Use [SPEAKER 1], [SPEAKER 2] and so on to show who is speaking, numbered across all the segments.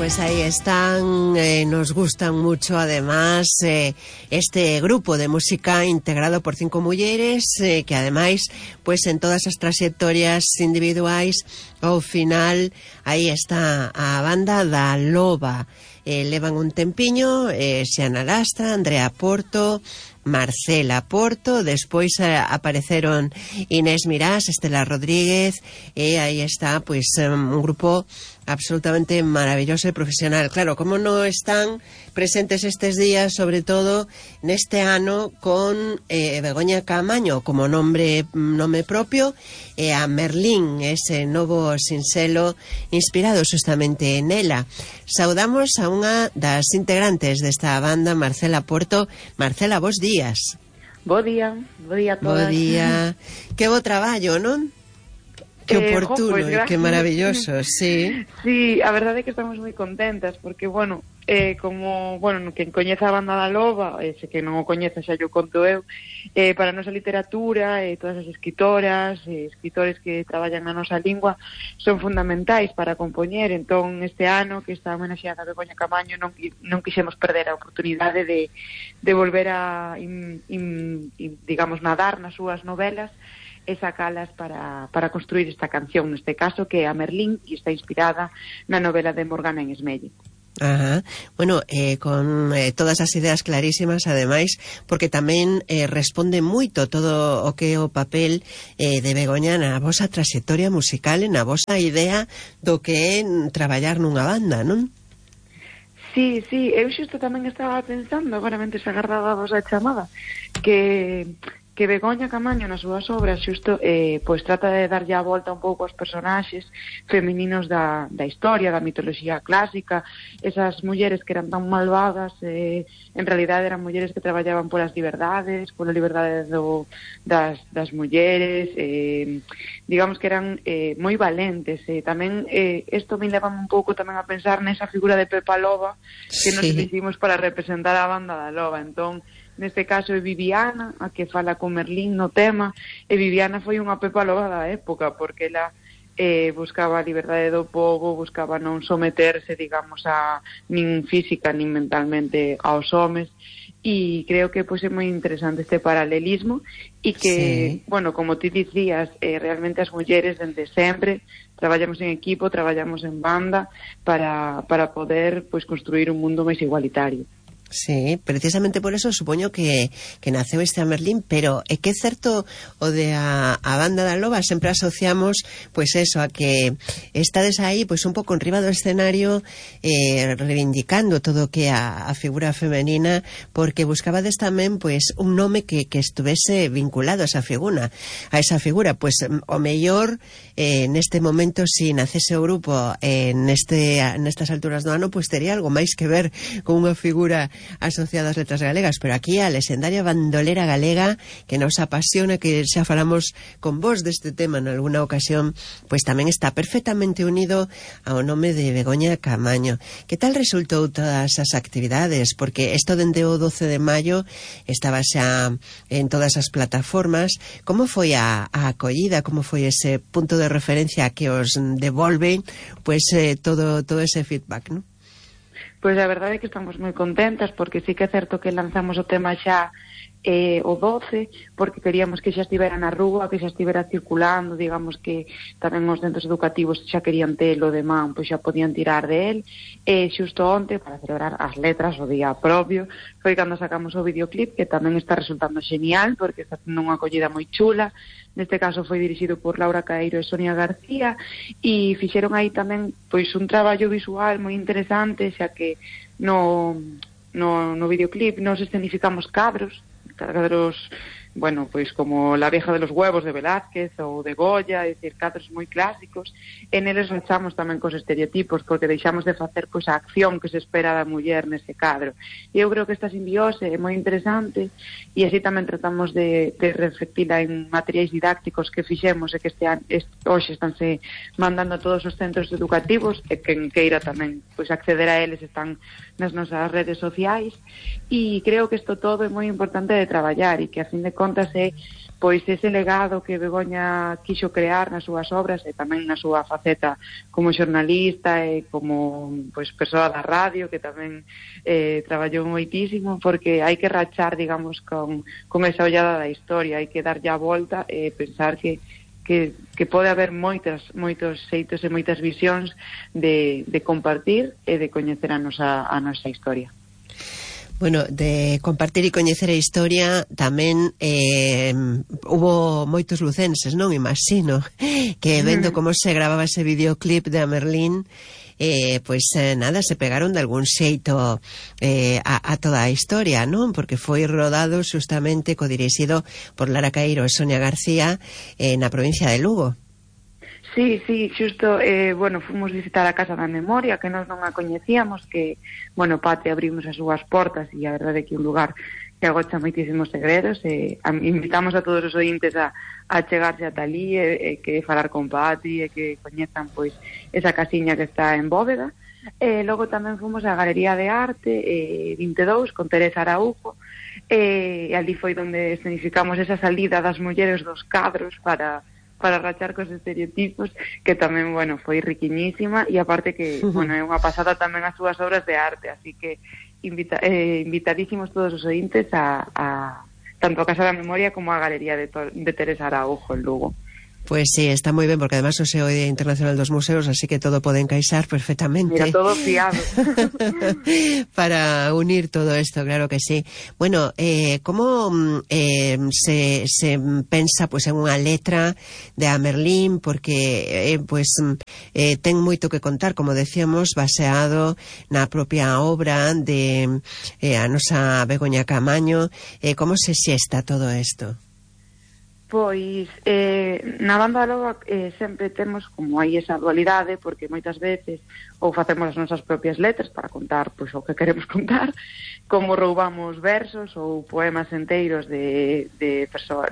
[SPEAKER 1] pues ahí están, nos gustan mucho además este grupo de música integrado por 5 mulleres que ademais, pues en todas as trayectorias individuais ao final aí está a banda da Loba. Levan un tempiño, Xiana Lastra, Andrea Porto, Marcela Porto, despois apareceron Inés Mirás, Estela Rodríguez, e aí está, pois, un grupo absolutamente maravilloso e profesional. Claro, como non están presentes estes días, sobre todo neste ano, con Begoña Caamaño como nome propio, e a Merlín, ese novo sinxelo inspirado justamente nela. Saudamos a unha das integrantes desta banda, Marcela Porto. Marcela, bos días.
[SPEAKER 2] Bo día a todas.
[SPEAKER 1] Bo día. Que bo traballo, non? Que oportuno e que maravilloso, sí.
[SPEAKER 2] Sí, a verdade é que estamos moi contentas porque, bueno, como, bueno, quen coñeza a banda da Loba, se que non o coñeza xa yo conto eu, para a nosa literatura, todas as escritoras, escritores que traballan na nosa lingua son fundamentais para compoñer. Entón, este ano que está homenaxeada a Begoña Caamaño non quixemos perder a oportunidade de volver a, digamos, nadar nas súas novelas e sacalas para construir esta canción, neste caso, que é a Merlín, e está inspirada na novela de Morgana en Esmelle.
[SPEAKER 1] Ajá. Bueno, con todas as ideas clarísimas, ademais, porque tamén responde moito todo o que é o papel de Begoña na vosa trayectoria musical e na vosa idea do que é traballar nunha banda, non?
[SPEAKER 2] Sí, eu xusto tamén estaba pensando, agora mentre se agardaba a vosa chamada, que Begoña Caamaño nas súas obras xusto pois trata de darlle a volta un pouco aos personaxes femininos da historia, da mitoloxía clásica, esas mulleres que eran tan malvadas, en realidade eran mulleres que traballaban polas liberdades, pola liberdade das mulleres, digamos que eran moi valentes. Tamén isto me leva un pouco tamén a pensar nesa figura de Pepa Loba que nos hicimos para representar a banda da Loba. Entón, neste caso é Viviana a que fala con Merlín no tema, e Viviana foi unha Pepa Loba da época, porque ela buscaba a liberdade do povo, buscaba non someterse, digamos, a nin física nin mentalmente aos homes, e creo que pois é moi interesante este paralelismo, e que, bueno, como ti dicías, realmente as mulleres dende sempre traballamos en equipo, traballamos en banda para poder pois construir un mundo máis igualitario.
[SPEAKER 1] Sí, precisamente por eso supoño que naceu este a Merlín, pero é que é certo o de a banda da Loba, sempre asociamos pois eso, a que estades aí pois un pouco enriba do escenario reivindicando todo o que é a figura femenina, porque buscabades tamén pois un nome que estuvese vinculado a esa figura, pois o mellor neste momento, si nacese o grupo nestas alturas do ano, pois tería algo máis que ver con unha figura asociada ás letras galegas, pero aquí a lexendaria bandolera galega que nos apasiona, que xa falamos con vos deste tema en alguna ocasión, pois tamén está perfectamente unido ao nome de Begoña Caamaño. Que tal resultou todas as actividades? Porque isto dende o 12 de maio estaba xa en todas as plataformas. Como foi a acollida? Como foi ese punto de referencia que os devolve pois todo ese feedback, non?
[SPEAKER 2] Pois a verdade é que estamos moi contentas, porque sí que é certo que lanzamos o tema xa o 12, porque queríamos que xa estivera na rúa, que xa estivera circulando, digamos que tamén os centros educativos xa querían telo de man, pois xa podían tirar de él, e xusto onte, para celebrar as letras, o día propio, foi cando sacamos o videoclip, que tamén está resultando genial, porque está tendo unha acollida moi chula. Neste caso foi dirixido por Laura Caeiro e Sonia García, e fixeron aí tamén pois un traballo visual moi interesante, xa que no videoclip nos escenificamos cadros, bueno, pois como La vieja de los huevos de Velázquez ou de Goya, é dicir, cadros moi clásicos, e neles rachamos tamén cos estereotipos, porque deixamos de facer pois a acción que se espera da muller nese cadro. E eu creo que esta simbiose é moi interesante, e así tamén tratamos de reflectila en materiais didácticos que fixemos e que hoxe estánse mandando a todos os centros educativos, e quen queira tamén pois acceder a eles están nas nosas redes sociais, e creo que isto todo é moi importante de traballar, e que a fin de contas é pois ese legado que Begoña quixo crear nas súas obras e tamén na súa faceta como xornalista e como pois persoa da radio, que tamén traballou moitísimo, porque hai que rachar, digamos, con esa ollada da historia, hai que darlle a volta e pensar que pode haber moitos xeitos e moitas visións de compartir e de coñecer a nosa historia.
[SPEAKER 1] Bueno, de compartir e coñecer a historia tamén hubo moitos lucenses, non? Imagino que vendo como se gravaba ese videoclip de Amerlín, nada, se pegaron de algún xeito a toda a historia, non? Porque foi rodado justamente codirixido por Lara Caeiro e Sonia García na provincia de Lugo.
[SPEAKER 2] Sí, xusto, fomos visitar a Casa da Memoria, que nós non a coñecíamos, que, Pate abrimos as súas portas e a verdade é que é un lugar que agocha moitísimos segredos, invitamos a todos os ointes a chegarse ata ali e que falar con Pati e que coñezan, pois, esa casiña que está en Bóveda. Logo tamén fomos á Galería de Arte 22 con Teresa Araújo, e ali foi onde escenificamos esa salida das mulleres dos cadros para rachar cos estereotipos, que tamén, foi riquiñísima, e aparte que, é unha pasada tamén as súas obras de arte, así que invitadísimos todos os ointes a tanto a Casa da Memoria como a Galería de Teresa Araújo en Lugo.
[SPEAKER 1] Pues sí, está moi ben, porque además o é o Día Internacional dos Museos, así que todo pode encaixar perfectamente.
[SPEAKER 2] Mira, todo fiado.
[SPEAKER 1] Para unir todo esto, claro que sí. Bueno, como se pensa pues en unha letra de Amerlín, porque ten moito que contar, como decíamos, baseado na propia obra de a nosa Begoña Caamaño. Como se xesta todo isto?
[SPEAKER 2] Pois, na Banda da Loba sempre temos como aí esa dualidade, porque moitas veces ou facemos as nosas propias letras para contar pois o que queremos contar, como roubamos versos ou poemas enteiros de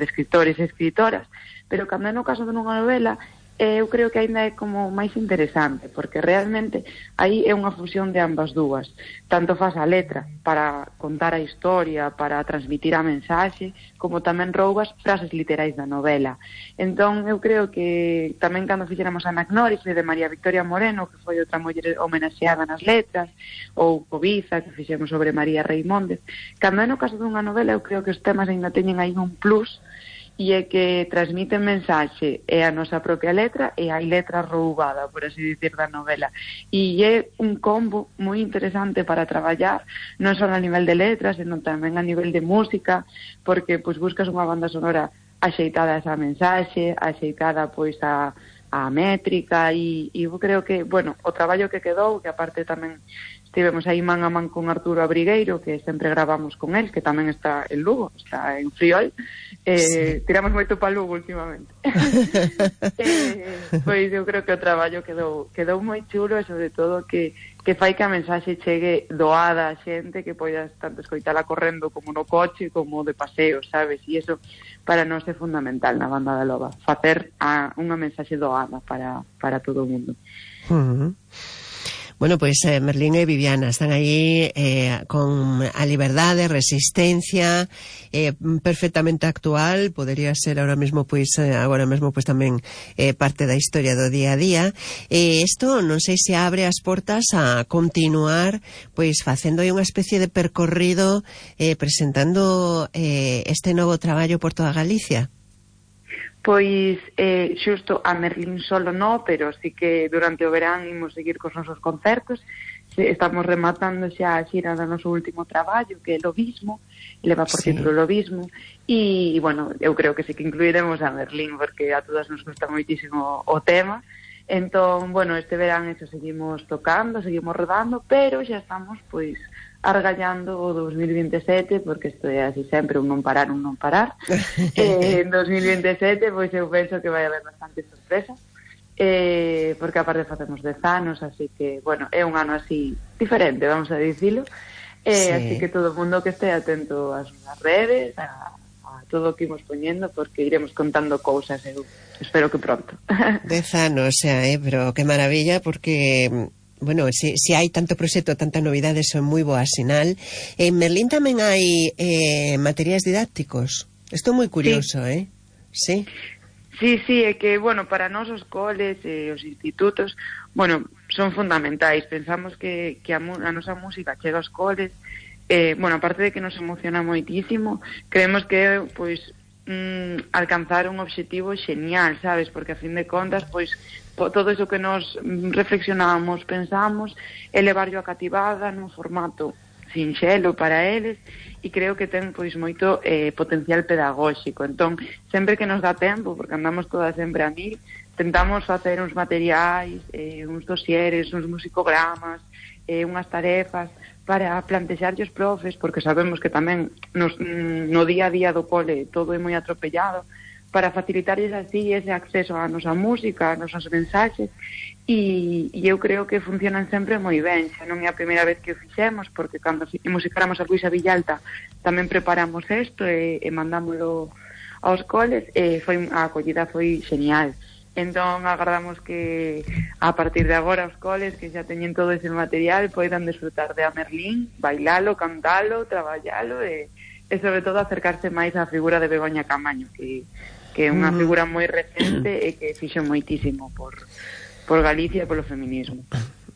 [SPEAKER 2] escritores e escritoras, pero cando é no caso de unha novela, eu creo que aínda é como máis interesante, porque realmente aí é unha fusión de ambas dúas. Tanto faz a letra para contar a historia, para transmitir a mensaxe, como tamén roubas frases literais da novela. Entón, eu creo que tamén cando fixéramos a Anagnórife de María Victoria Moreno, que foi outra muller homenaxeada nas letras, ou Cobiza, que fixemos sobre María Reimóndez, cando é no caso dunha novela, eu creo que os temas ainda teñen aí un plus, e é que transmiten mensaxe e a nosa propia letra e hai letra roubada, por así dicir, da novela. E é un combo moi interesante para traballar, non só a nivel de letras, senón tamén a nivel de música, porque pois buscas unha banda sonora axeitada a esa mensaxe, axeitada pois a métrica, e eu creo que, o traballo que quedou, que aparte tamén estivemos aí man a man con Arturo Abrigueiro, que sempre gravamos con él, que tamén está en Lugo, está en Friol, sí. Tiramos moito para Lugo últimamente. Pois eu creo que o traballo quedou moi chulo, e sobre todo que fai que a mensaxe chegue doada a xente, que poidas tanto escoitala correndo como no coche, como de paseo, sabes? E iso para nós é fundamental na Banda da Loba, facer unha mensaxe doada para todo o mundo.
[SPEAKER 1] Bueno, pois Merlín e Viviana están aí con a liberdade, resistencia, perfectamente actual, podería ser agora mesmo tamén parte da historia do día a día. Isto non sei se abre as portas a continuar pois facendo aí unha especie de percorrido presentando este novo traballo por toda Galicia.
[SPEAKER 2] Pois, xusto a Merlín solo no, pero sí que durante o verán imos seguir cos nosos concertos. Estamos rematando xa a xira do noso último traballo, que é Lobismo, leva por título Lobismo, e, eu creo que sí que incluiremos a Merlín, porque a todas nos gusta moitísimo o tema. Entón, este verán eso seguimos tocando, seguimos rodando, pero xa estamos, pois, argallando o 2027, porque isto é así sempre, un non parar. En 2027, pois eu penso que vai haber bastante sorpresa, porque aparte facemos 10 anos, así que, é un ano así diferente, vamos a dicilo, así que todo o mundo que este atento ás redes, a todo o que imos poñendo, porque iremos contando cousas, eu espero que pronto.
[SPEAKER 1] 10 anos, pero que maravilla, porque... si hai tanto proxecto, tanta novidade, son moi boa sinal. En Merlín tamén hai materiais didácticos. Isto é moi curioso, Sí.
[SPEAKER 2] Sí, é que, bueno, para nós os coles e os institutos, bueno, son fundamentais. Pensamos que a nosa música chega aos coles, bueno, aparte de que nos emociona moitísimo, creemos que, pois, alcanzar un obxectivo xenial, sabes? Porque, a fin de contas, pois, todo iso que nos reflexionamos, pensamos, elevarlo a cativada nun formato sinxelo para eles, e creo que ten pois moito potencial pedagóxico. Entón, sempre que nos dá tempo, porque andamos todas sempre a mil, tentamos facer uns materiais, uns dosieres, uns musicogramas, unhas tarefas para plantexarlle os profes, porque sabemos que tamén no día a día do cole todo é moi atropellado, para facilitarlles así ese acceso á nosa música, ás nosas mensaxes, e eu creo que funcionan sempre moi ben. Xa non é a primeira vez que o fixemos, porque cando musicáramos a Luisa Villalta tamén preparamos isto e mandámoslo aos coles, e a acollida foi genial. Entón agardamos que a partir de agora os coles que xa teñen todo ese material poidan disfrutar de A Merlín, bailalo, cantalo, traballalo e sobre todo acercarse máis á figura de Begoña Camaño, que é unha figura moi recente e que fixo moitísimo por Galicia e polo feminismo.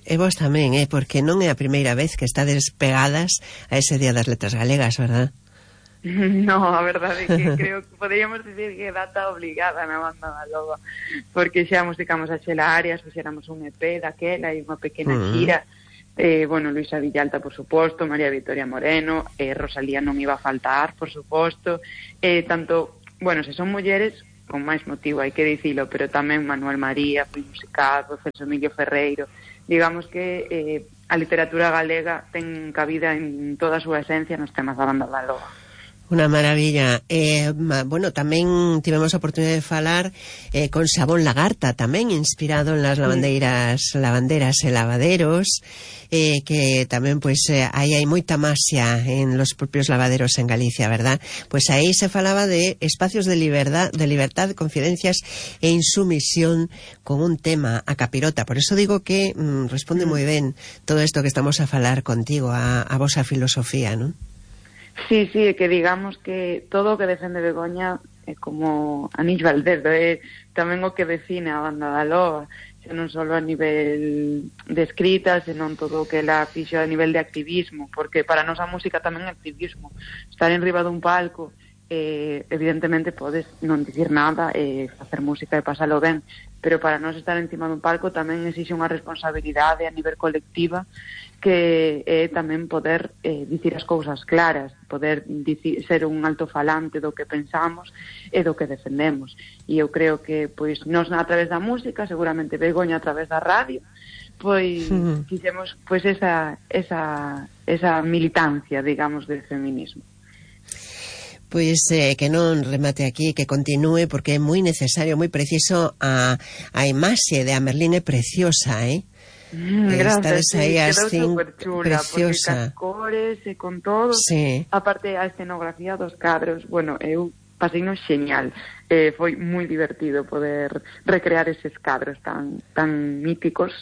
[SPEAKER 1] E vos tamén, porque non é a primeira vez que estades pegadas a ese Día das Letras Galegas, verdad?
[SPEAKER 2] No, a verdade é que creo que poderíamos dicir que é data obligada na Banda da Loba, porque xa musicamos a Xela Arias, fixéramos un EP daquela e unha pequena xira. Bueno, Luisa Villalta, por suposto, María Victoria Moreno, Rosalía non iba a faltar, por suposto, tanto, bueno, se son mulleres, con máis motivo, hai que dicilo, pero tamén Manuel María, foi musicado, Celso Emilio Ferreiro, digamos que a literatura galega ten cabida en toda a súa esencia nos temas da Banda da Loba.
[SPEAKER 1] Unha maravilla. Bueno, tamén tivemos a oportunidade de falar con Sabón Lagarta, tamén inspirado en las lavanderas e lavaderos, que tamén, pois, aí hai moita masia en los propios lavaderos en Galicia, verdad? Pois aí se falaba de espacios de libertad, confidencias e insumisión con un tema, a capirota. Por eso digo que responde moi ben todo isto que estamos a falar contigo, a vosa filosofía, non?
[SPEAKER 2] Sí, que digamos que todo o que defende Begoña é como anillo al dedo, é tamén o que define a Banda da Loba, xa non só a nivel de escrita, senón todo o que ela fixo a nivel de activismo, porque para nós a música tamén é activismo. Estar en riba dun palco, evidentemente podes non dicir nada e facer música e pasalo ben, pero para nós estar encima dun palco tamén exixe unha responsabilidade a nivel colectiva, que é tamén poder dicir as cousas claras, poder ser un alto-falante do que pensamos e do que defendemos. E eu creo que pois nós a través da música, seguramente Begoña a través da radio, pois fixemos pois esa militancia, digamos, del feminismo.
[SPEAKER 1] Pois que non remate aquí, que continúe, porque é moi necesario, moi preciso. A imaxe de A Merlín é preciosa,
[SPEAKER 2] Gracias,
[SPEAKER 1] aí
[SPEAKER 2] quedou superchula,
[SPEAKER 1] preciosa,
[SPEAKER 2] porque cores e con todo,
[SPEAKER 1] sí.
[SPEAKER 2] Aparte a escenografía dos cadros, bueno, eu paseino xeñal, foi moi divertido poder recrear eses cadros tan míticos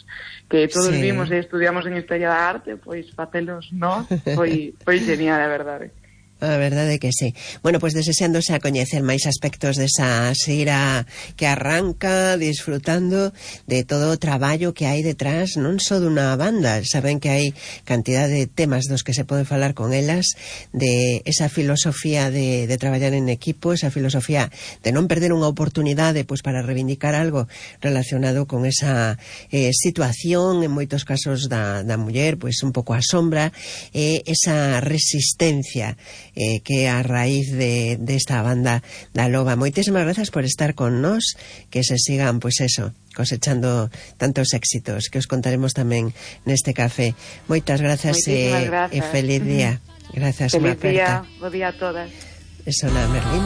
[SPEAKER 2] que todos vimos e estudiamos en Historia da Arte, pois facelos nós, foi genial, a verdade.
[SPEAKER 1] A verdade que sí. Bueno, pois deseándose a coñecer máis aspectos desa xira que arranca, disfrutando de todo o traballo que hai detrás, non só dunha banda. Saben que hai cantidad de temas dos que se pode falar con elas, de esa filosofía de traballar en equipo, esa filosofía de non perder unha oportunidade pois para reivindicar algo relacionado con esa situación, en moitos casos da muller, pois un pouco a sombra, esa resistencia que a raíz de esta Banda da Loba. Moitísimas grazas por estar con nós, que se sigan, pois eso, cosechando tantos éxitos, que os contaremos tamén neste café. Moitas grazas e feliz día. Grazas,
[SPEAKER 2] feliz día, bo día a todas.
[SPEAKER 1] Eso na Merlín.